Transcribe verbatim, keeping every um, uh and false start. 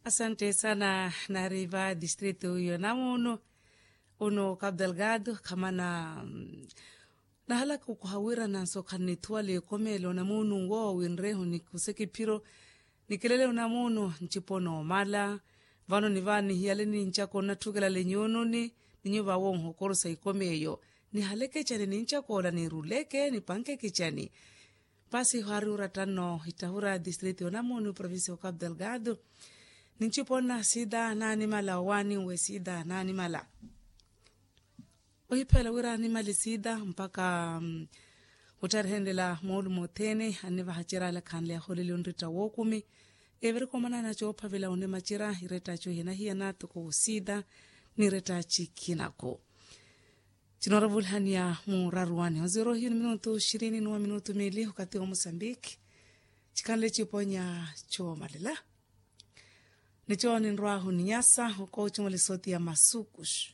Asante sana. Nari va distrito yo namuno uno cabo delgado kamana. Nahalaka okuha wira nanso khanithuwala ekomelo namuno wo winreho nikuseke phiro. Nikilele unamuno ncipo nomala vano niva nihiyale ninchako nathukelale nyununi. Ninyu vawo nhokorosa ikomeyo nihaleke icani ninchakola niruleke nipanke kicani. Pasi hwari uratanno ittahura distrito yo namuno provincia yo cabo delgado. Ninchipo nna sida nanimala owani we sida nanimala. Ohiphela wira animale sida mpaka ottarihenlela moolumo othene anivaha cira alakhanle aholeli onretta wookumi. Eviri komanana coophavela onimacira iretta cohina hiyana toko sida niretta cikhinako. Cinoorevulihaniya muraruwani onziro hiyo ni minutu ishirini nuwa minutu miili okathi wa musambiki. Cikhanle ciponya coomalela. Ni cooni nrwahu ni nyasa okoochumula esooti ya masukus.